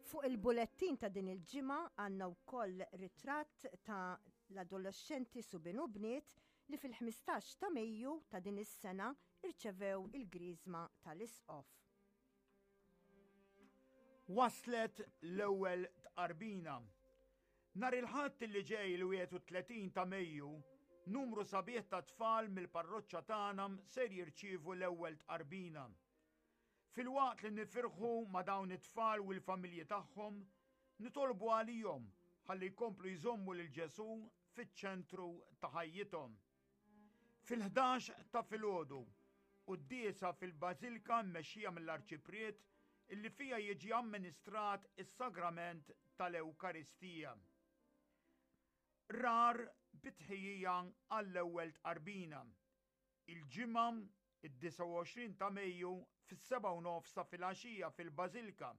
Fuq il-bulettin ta' din il-ġimgħa għandna wkoll ritratt ta' l-adolexxenti subien u bniet li fil-15 ta' Mejju ta' din is-sena irċevew il-griżma tal-Isqof. Waslet l-ewwel tqarbina. Nhar il-Ħadd li ġej il-31 ta' Mejju, numru sabiħ ta' tfal mill-parroċċa tagħna ser jirċievu l-ewwel tqarbina. Filwaqt li nifirħu ma' dawn it-tfal u l-familji tagħhom, nitolbu għalihom ħalli jkomplu jżommu lil Ġesù fiċ-ċentru ta' ħajjithom. Fil-11 ta' filgħodu, quddiesa fil-Bażilka mmexxija mill-Arċipriet illi fiha jiġi amministrat is-Sagrament tal-Ewkaristija. Rar bi tħejjija għall-ewwel tqarbina. Il-Ġimgħa, id-29 ta' Mejju, fis-sebgħa u nofs ta' filgħaxija fil-Bażilka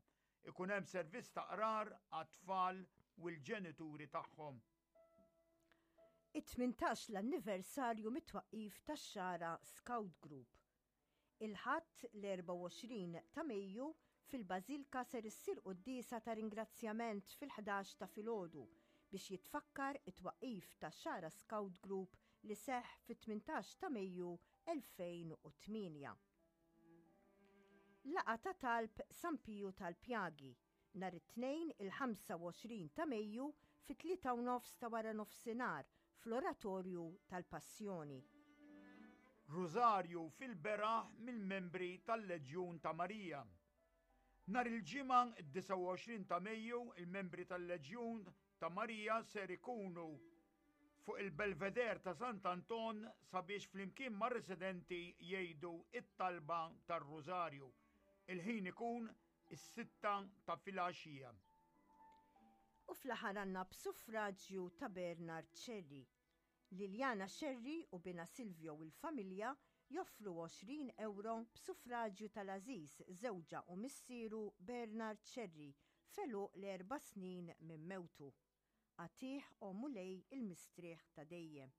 ikun hemm servizz ta' qrar għat-tfal u l-ġenituri tagħhom. It-18 l-anniversarju mit-twaqqif tax-Xagħra Scout Group. Il-Ħadd l-24 ta' Mejju fil-Bażilka ser issir quddiesa ta' ringrazzjament fil-11 ta' filgħodu biex jitfakkar it-twaqqif tax-Xagħra Scout Group li seħħ fit-18 ta' Mejju 2008. Laqgħa ta' talb San Piju tal-Pjagi nhar it-Tnejn il-25 ta' Mejju fit-tlieta u nofs ta' waranofsinhar fl-Oratorju tal-Passjoni. Rużarju fil-beraħ mill-membri tal-Leġjun ta' Marija. Nhar il-Ġimgħa d-29 ta' Mejju il-membri tal-Leġjun ta' Marija ser ikunu fuq il-Belvedere ta' Sant'Anton sabiex flimkien mar-residenti jgħidu t-talba tar-Rużarju. Il-ħin ikun is-sitta ta' filgħaxija. U fl-aħħar għandna b'suffraġju ta' Bernard Scerri. Liliana Scerri u binha Silvio u l-familja joffru 20 ewro b'suffraġju tal-għażiż żewġha u missieru Bernard Scerri f'għeluq l-erba' snin minn mewtu. Agħtih, o Mulej, il-mistrieħ ta' dejjem.